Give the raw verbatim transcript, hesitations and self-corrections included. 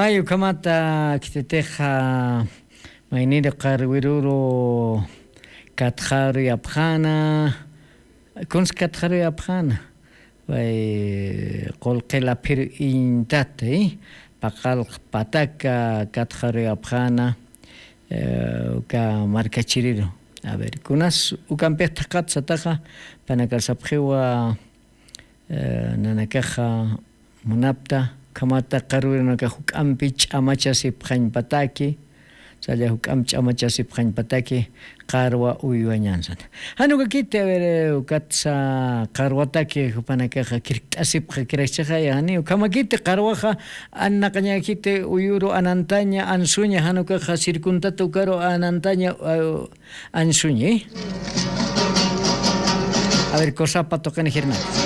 Ay ukhamata khititixa, mayniru qarwiruru katxaruyapxana. Kunsi katxaruyapxana? Pay qulqi laphiru iñtati paqalq pataka katxaruyapxana. Uka markachiriru. A ver, kunas ukampix thaqat sataxa? Panakasapxiwa nanakaxa munapta ukhamata qarwirunaka juk'ampi ch'amachasipxañpataki. Salla juk'ampi ch'amachasipxañpataki qarwa uywañansata. Janukakiti a ver, ukatsa qarwataki jupanakaxa kirkt'asipxa kirakchaxa yani ukhamakiti qarwaxa. Annaqañakiti uyuru anantaña ansuña janukaxa sirkuntata ukaru anantaña. Ansuñi. A ver, kosapa tuqini jirnaka.